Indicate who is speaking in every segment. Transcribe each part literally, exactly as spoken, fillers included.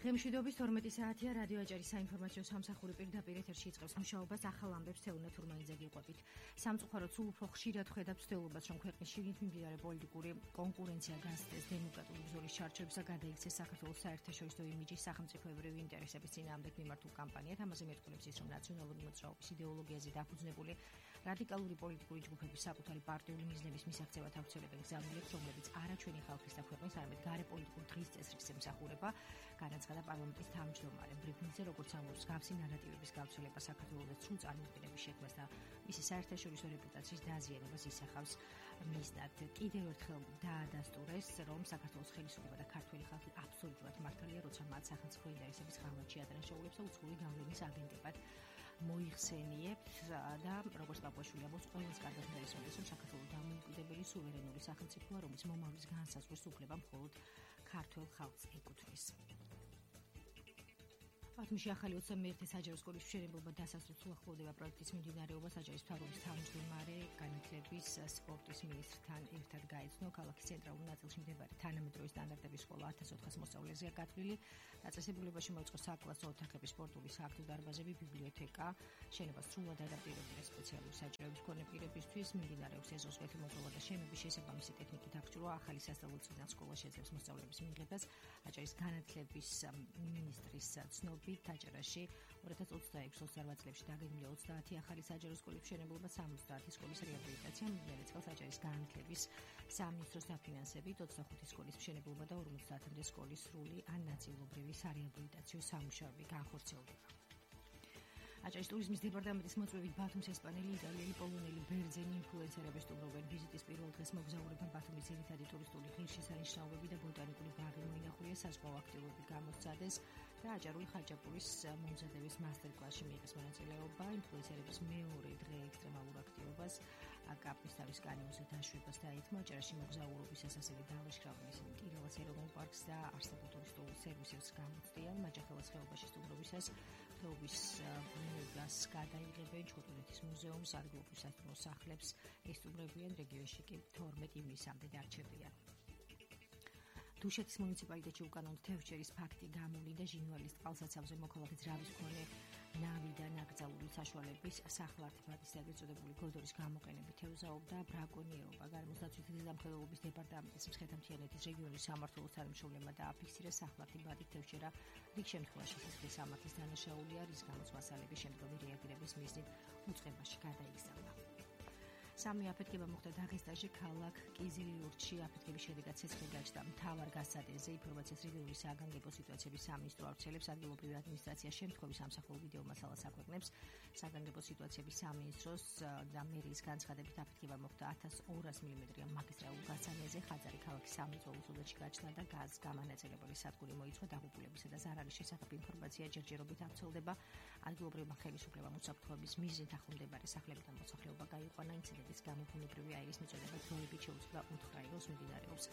Speaker 1: დღემშვიდობის თორმეტი საათია რადიო აჭარის საინფორმაციო სამსახური პირდაპირ ეთერში იწყებს მუშაობას ახალ ამბებს თეუნა თურმანიძე გიყვებით. სამწუხაროდ სულ უფრო ხშირად ხვედავთ ცდელობას, რომ ქვეყნის შიგნით მიმდინარე პოლიტიკური კონკურენცია გასცდეს დემოკრატიული ბრძოლის ჩარჩოებსა გადაიქცეს საქართველოს საერთაშორისო იმიჯის სახელმწიფოებრივი ინტერესების წინააღმდეგ მიმართულ კამპანიად. ამაზე მეტყველებს ის, რომ ნაციონალური მოძრაობის იდეოლოგიაზე დაფუძნებული რადიკალური პოლიტიკური ჯგუფების საკუთარი პარტიული მიზნების მისაღწევად აუცილებელ გზავნილებს, რომლებიც არა ჩვენი ხალხის და ქვეყნის, არამედ გარე პოლიტიკურ დღის წესრიგს ემსახურება, განაცხადა პარლამენტის თავმჯდომარე ბრიფინგზე, როგორც ამბობს, გავსი ნარატივების გავრცელება საქართველოს სრულ წარმოდგენების შექმნას და მისი საერთაშორისო რეპუტაციის დაზიანებას ისახავს მიზნად. კიდევ ერთხელ დაადასტურეს, რომ საქართველოს ხელისუფლება და ქართველი ხალხი აბსოლუტურად მართალია, როცა მათ სახელმწიფო ინტერესების ღალატში ადრენშაულებს და უცხოური გავლენის აგენტებად მოიხსენიებთ და როგორც პაპუაშვილი ამბობს, ყველას კარგად დაისმენდეს, რომ საქართველოს დამოუკიდებელი სუვერენული სახელმწიფოა, რომლის მომავლის განსაზღვრის უფლება მხოლოდ ქართველ ხალხს ეკუთვნის. ათმში ახალი ოცდამეერთე საჯარო სკოლის მშენებლობა დასასრულს უახლოვდება პროექტის მიმდინარეობა. საჯარის მთავრობის თავმჯდომარე განათლების სპორტის მინისტრთან ერთად გაიცნო ქალაქის ცენტრალურ ნაწილში მდებარე თანამედროვე სტანდარტების სკოლა ათას ოთხას მოსწავლეზეა გათვლილი. დაწესებულებაში მოიწყო საკლასო ოთახები, სპორტული სააქტო დარბაზები, ბიბლიოთეკა. შენობა სრულად ადაპტირებულია სპეციალური საჭიროების მქონე პირებისთვის. მიმდინარეობს ეზოს-ღეთი მოწყობა და შენობის შესაბამისი ტექნიკით აღჭურვა. ახალი სასწავლებლიდან სკოლა შეძლებს მოსწავლეების მიღებას. აჭარის განათლების მინისტრის ცნობით აჭარაში ორი ათას ოცდაექვსი ოცდაოთხ წლებში დაგეგმილია ოცდაათი ახალი საჯარო სკოლის მშენებლობა, სამოცდაათი სკოლის რეაბილიტაცია. მიმდინარე წელს აჭარის განათლების სამინისტროს დაფინანსებით ოცდახუთი სკოლის მშენებლობა და ორმოცდაათამდე სკოლის სრული ან ნაწილობრივი სარეაბილიტაციო სამუშაოები განხორციელდება. აჭარის ტურიზმის დეპარტამენტის მოწვევით ბათუმს ესპანელი, იტალიელი, პოლონელი, ბერძენი ინფლუენსერები სტუმრობენ. ვიზიტის პირველ დღეს მოგზაურებმა ბათუმის ძირითადი ტურისტული ღირსშესანიშნაობები და ბოტანიკური ბაღი მოინახულეს, საზღვაო აქტივობები გამოსცადეს და აჭარული ხაჭაპურის მომზადების მასტერ-კლასში მიიღეს მონაწილეობა. ინფლუენსერების მეორე დღე ექსტრემალურ აქტივობას კაპის თავის კანიონზე დაშვებას დაითმო. აჭარაში მოგზაურობისას ასევე დავაშქრავენ ისინი ტირალას ეროვნულ პარკს და არსებულ ტურისტულ სერვისებს გამოცდიან. მაჯახელას ხეობაში სტუმრობისას ხეობის გას გადაიღებენ ჩხუტუნეთის მუზეუმს, ადგილობრივ სასტუმრო სახლებს ესტუმრებიან, რეგიონში კი თორმეტი ივნისამდე დარჩებიან. დუშეთის მუნიციპალიტეტში უკანონო თევზჭერის ფაქტი გამოვლინდა. ჟინვალის წყალსაცავზე მოქალაქე ძრავის მქონე ნავი და ნაკრძალული საშუალების სახლართმადის ეგრეთ წოდებული გოდორის გამოყენებით ევზაობდა ბრაკონიერობა. გარემოს დაცვის ზედამხედველობის დეპარტამენტის მცხეთა-მთიანეთის რეგიონის სამმართველოს თანამშრომლებმა დააფიქსირეს სახლართი ბადით თევზჭერა რიგ შემთხვევაში სისხლის სამართლის დანაშაულია, რის გამოც მასალების შემდგომი რეაგირების მიზნით უწყებაში გადაიგზავნა. სამი აფეთქება მოხდა დაღესტანში, ქალაქ კიზილიურტში. აფეთქების შედეგად ცეცხლი გაჩნდა მთავარ გასადენზე. ინფორმაციას რეგიონული საგანგებო სიტუაციების სამინისტრო ავრცელებს. ადგილობრივი ადმინისტრაცია შემთხვევის სამსახურ ვიდეო მასალას აქვეყნებს. საგანგებო სიტუაციების სამინისტროს და მერიის განცხადებით აფეთქება მოხდა ათას ორას მილიმეტრიან მაგისტრალურ გასანეზე. ხაძარი ქალაქის სამრეწველო სოფელში გაჩნდა და გაზ გამანაწილებელი სადგური მოიცვა. დაღუპულებისა და ზარალის შესახებ ინფორმაცია ჯერჯერობით ავრცელდება. ადგილობრივმა ხელისუფლებამ უსაფრთხოების მიზნით ახლომდებარე სახლებიდან მოსახლეობა გაიყვანა. ინციდენტის გამო ბუნებრივი აირის მიწოდება დროებით შეუწყდა უთხრაეროს. მიმდინარეობს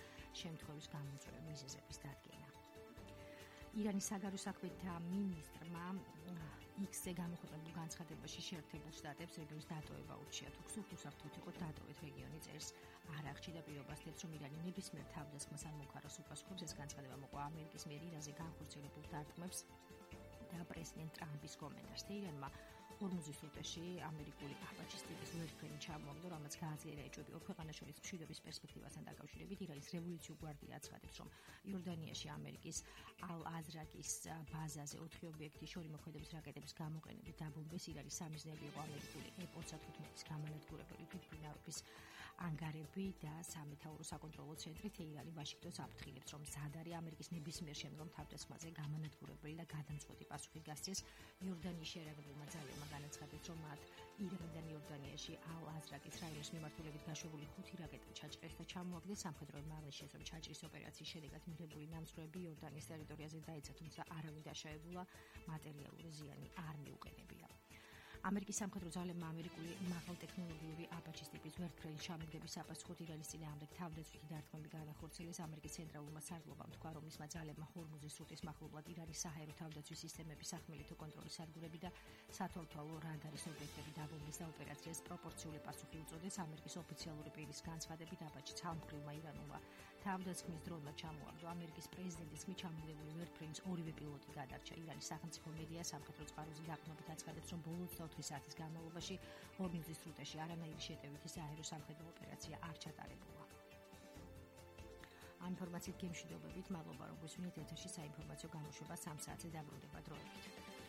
Speaker 1: შემთხვევის გამოწვევა მიზეზების დადგენა. ირანის საგარეო საქმეთა მინისტრმა იქსზე გამოქვეყნებულ განცხადებაში შეერთებულ შტატებს რეგიონის დატოვება ურჩია. თუ გსურთ უსაფრთხოდ იყო დატოვეთ რეგიონი, წერს არაღში და პირობას თებს, რომ ირანი ნებისმიერ თავდასხმას ან მომხაროს უპასუხობს. ეს განცხადება მოყვა ამერიკის მიერ ირანზე განხორციელებულ დარტყმებს და პრეზიდენტ ტრამპის კომენტარს. ირანმა ჰორმუზის სრუტეში ამერიკული აბაჩის ტიპის ვერტმფრენი ჩამოაგდო, რამაც გააძლიერა ეჭვები ორ ქვეყანას შორის მშვიდობის პერსპექტივასთან დაკავშირებით. ირანის რევოლუციურ გვარდია აცხადებს, რომ იორდანიაში ამერიკის ალ-აზრაკის ბაზაზე ოთხი ობიექტი შორი მოქმედების რაკეტების გამოყენებით დაბომბეს. ირანის სამიზნეები იყო ამერიკული ე ოცდათხუთმეტის გამანადგურებელი ფიფრინარობის ანგარები და სამეთაურო საკონტროლო ცენტრი. თეირანი ვაშინგტონს აფრთხილებს, რომ მზად არის ამერიკის ნებისმიერ შემდგომ თავდასხმაზე გამანადგურებელი და გადამწყვეტი პასუხი გასცეს. იორდანიის შეერაგებულმა ძალებმა განაცხადეს, რომ მათ ირანიდან იორდანიაში ალ-აზრაკის რაიონის მიმართულებით გაშვებული ხუთი რაკეტა ჩაჭრეს და ჩამოაგდეს. სამხედროებმა აღნიშნეს, რომ ჩაჭრის ოპერაციის შედეგად მიღებული ნამსხვრევები იორდანიის ტერიტორიაზე დაეცა, თუმცა არავინ დაშავებულა, მატერიალური ზიანი არ მიუყენებია. ამერიკის სამხედრო ძალებმა ამერიკული მაღალტექნოლოგიური აბაჩის ტიპის ვერტმფრენის ჩამოგდების საპასუხოდ ირანის წინააღმდეგ თავდაცვითი დარტყმები განახორციელეს. ამერიკის ცენტრალურმა სარდლობამ თქვა, რომ მისმა ძალებმა ჰორმუზის სრუტის მახლობლად ირანის საჰაერო თავდაცვის სისტემების სახმელეთო კონტროლის სადგურები და სათვალთვალო რადარის ობიექტები დაბომბეს და ოპერაციას პროპორციული პასუხი უწოდეს. ამერიკის ოფიციალური პირის განცხადებით აბაჩი ცალმხრივმა ირანულმა თავდასხმის დროულად ჩამოაგდო. ამერიკის პრეზიდენტის ხმით ჩამოგდებული ვერტფრეიმს ორივე პილოტი გადარჩა. ირანის სახელმწიფო მედია სამხედრო წყაროზე დაყრდნობით აცხადებს, რომ ბოლო ოცდაოთხი საათის განმავლობაში ჰორმუზის სრუტეში არანაირი შეტევითი საჰაერო სამხედრო ოპერაცია არ ჩატარებულა. ამ ინფორმაციით გემშვიდობებით, მადლობა რომ გვისმინეთ ეთერში საინფორმაციო გამოშვება სამ საათზე დაბრუნდება დროებით.